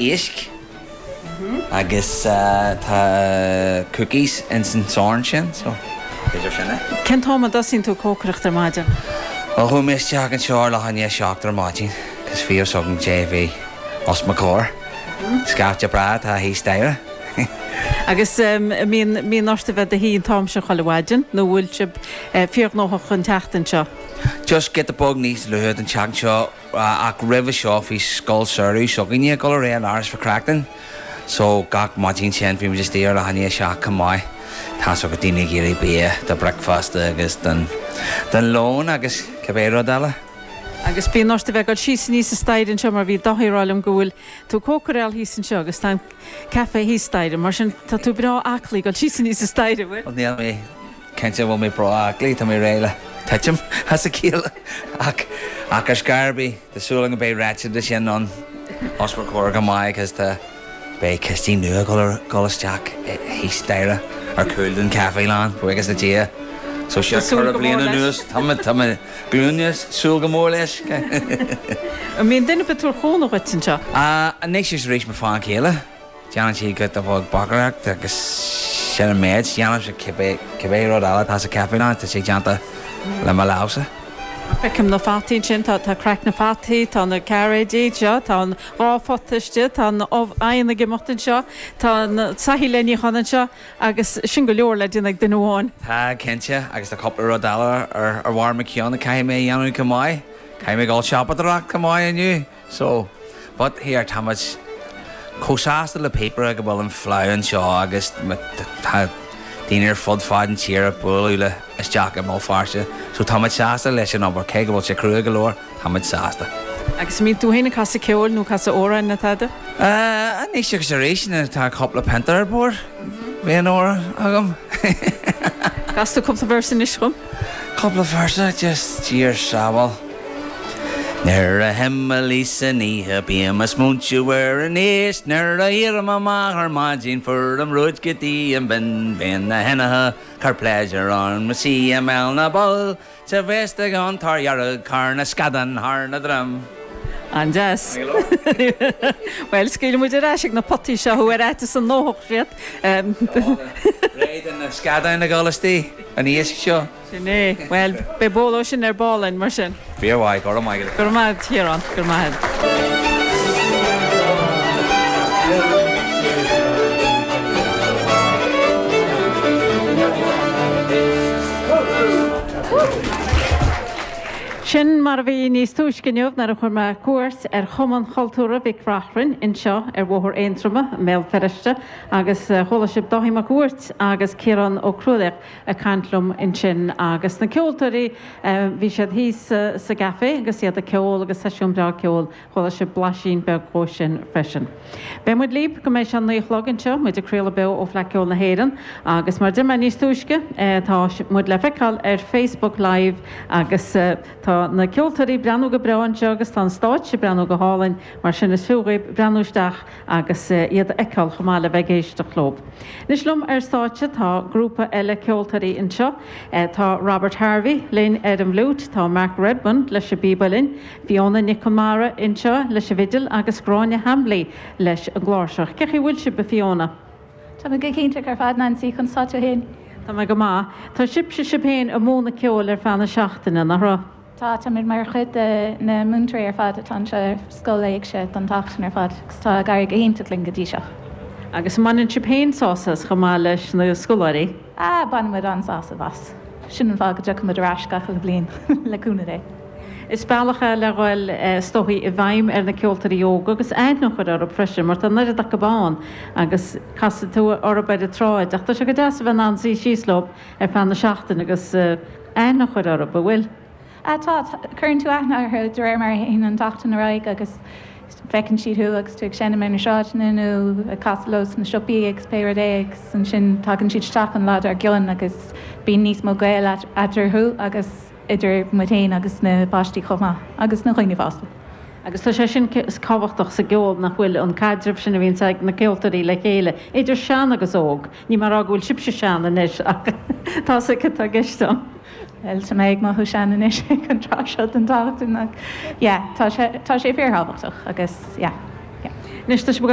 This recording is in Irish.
Éisc agus tá cookies ins an sorn sin so b'fhéidir sin é. Cén t-am a dtosaíonn tú ag cócaireacht ar maidin? Bhuel chuaigh mé isteach anseo ar leath i ndiaidh 7 ar maidin cos bhí fhios agam cé a bhí os mo chomhair. Scaifte breá atá thíos staighre. Agus mbíonn mbíonn ort a bheith i do shuí an t-am sin chuile mhaidin nó bhfuil sibh fíorghnóthach an tseachtain seo? Just giota beag níos luaithe don tseachtain seo. Ach roimhe seo bhí scoil samhraidh s'againne ag dul ar aghaidh in Áras Mhic Reachtain so gach maidin sin bhí muid istigh ar leath i ndiaidh 7 chomh maith. Tá's agat daoine ag iarraidh bia do bricfeasta agus don don lón agus cibé rud eile. Agus bíonn ort a bheith ag dul síos aníos an staighre anseo mar bhí Dáithí ag rá liom go bhfuil tú ag cócaráil thíos anseo agus tá an caife thíos staighre mar sin tá tú breá aclaí ag dul síos aníos an staighre, bhfuil? Bhuel níl mé Cinnte bhfuil mé breá aclaí, tá mé réidh le titim as a chéile ach ach ar scor ar bith, tá súil agam go mbeidh réiteach de sin ann os bhur comhair go maith agus tá beidh cistín nua ag dul isteach thíos staighre ar chúl den chaifélann, buíochas le Dia. So seo Tá súil ceithre go mór bliana leis. anuas, tá mé tá mé glúine súil go mór leis. An mbíonn duine ar bith ag tabhairt cúnamh dhuit anseo? Anois is arís mo bhean chéile. Déanann sí giota beag bacaireacht agus sin an méid. Déanaimse cibé cibé rud eile atá sa chaifélann, tá sé déanta le mo lámhsa. Feicim na fataí ansin, tá tá craic na fataí, tá na cairéidí anseo, tá an dá phota istigh, tá an ubh oigheann ag imeacht anseo, tá na soithí le níochán anseo agus sin go leor le déanamh ag duine amháin. Tá, cinnte, agus tá cúpla rud eile ar ar bharr mo cheann a caithfidh mé a dhéanamh chomh maith. Caithfidh mé dul siopadóireacht chomh maith inniu. So, but here, tá muid chomh sásta le píopaire go bhfuil an Fleadh anseo agus tá daoine ar fud fad an tír ag bualadh le isteach i mBéal Feirste. So tá muid sásta leis an obair, cé go bhfuil sé crua go leor, tá muid sásta. Agus an mbíonn tú féin ag casadh ceoil nó casadh amhráin nó tada? Anois agus arís nuair atá cúpla pionta ar bord, bíonn amhrán agam. Cas tú cúpla véarsa anois dhom. Cúpla véarsa, just Dia ár sábháil. Nuair a thimilís san oíche bím ag smaointiú ar an éisc Nuair a éirím amach ar maidin fuairim rud go dtí an binn Bíonn na henatha cur pléisiúr orm is í i mbéal na bpoll Sa bhféasta an tor dhearg thar na scadáin thar na droim. An-deas. Bhuel, scaoilfidh muid ar ais ag na potaí seo thú ar fhaitíos go ndófadh siad. Réidh do na scadáin a dhul istigh, an iasc seo. Sin é. Bhuel, beidh bol ó sin ar ball againn, mar sin. Fíor-mhaith, go raibh maith agat. Go raibh maith agat, a Chiaráin. Go raibh maith agat. Sin mar a bhí níos túisce inniu nuair a chuir mé cuairt ar Chumann Chultúrtha Mhic Reachrainn anseo ar Bhóthar Aontroma i mBéal Feirste agus chuala sibh Dáithí Mac Uairt agus Ciarán Ó Cruadhlaoich ag caint liom ansin agus na ceoltóirí, bhí siad thíos sa gcaife agus iad ag ceol agus seisiún breá ceoil, chuala sibh blaisín beag dhó sin freisin. Beidh muid libh go mbeidh sé a naoi a chlog anseo, muid ag craoladh beo ó Fleadh Ceoil na hÉireann agus mar a deir mé níos túisce, tá muid le feiceáil ar Facebook Live agus tá na ceoltóirí ag breathnú go breá anseo agus tá an stáitse ag breathnú go hálainn, mar sin is fiú dhaoibh breathnú isteach agus iad a fheiceáil chomh maith le bheith ag éisteacht leo. Anois liom ar stáitse tá grúpa eile ceoltóirí anseo. Tá Robert Harvey linn ar an bhfliúit, tá Mark Redmond leis an bpíb uilleann, Fiona Nic Conmara anseo leis an bhfidil agus Gráinne Hambly leis an gcláirseach. Cén chaoi a bhfuil sibh, a Fiona? Tá mé go hiontach ar fad, Nancy, conas tá tú féin? Tá mé go maith. Tá sibhse sibh féin ag múineadh ceoil ar feadh na seachtaine, nach raibh? Tá, táimid mar chuid de na múinteoirí ar fad atá anseo ar Scoil Éigse don tseachtain ar fad agus tá ag éirí go hiontach linn go dtí seo. Agus an mbaineann sibh féin sásamh as chomh maith leis na scoláirí? Ah, baineann muid an-sásamh as. Sin an fáth go dtiocfaidh muid ar ais gach uile bhliain, le cúnamh Dé. Is bealach é le dhul, is dóichí, i bhfeidhm ar na ceoltóirí óga agus aithne a chur orthu freisin mar tá an oiread acu ann agus casfaidh tú orthu ar an tsráid ach tá sé go deas a bheith in ann suí síos leo ar feadh na seachtaine agus aithne a chur orthu, an bhfuil? Ah tá, cuireann tú aithne orthu de réir mar a théann an tseachtain ar aghaidh agus feiceann siad thú agus tú ag seinm ar na sráideanna nó ag casadh leo sna siopaí agus pé rud é agus ansin tagann siad isteach an lá dár gcionn agus bíonn níos mó gaol eatarthu agus idir muid féin agus na páistí chomh maith agus na dhaoine fásta. Agus tá sé sin tábhachtach sa gceol nach bhfuil, an caidreamh sin a bhíonns ag na ceoltóirí le chéile, idir sean agus óg. Níl mé ag rá go bhfuil sibhse sean anois ach tá a fhios agat cad tá i gceist agam. Bhuel, tá mé ag mothú sean anois ag an tráth seo den tseachtain ach yeah, tá sé, tá sé fíorthábhachtach agus yeah, yeah. Anois tá sibh ag dul.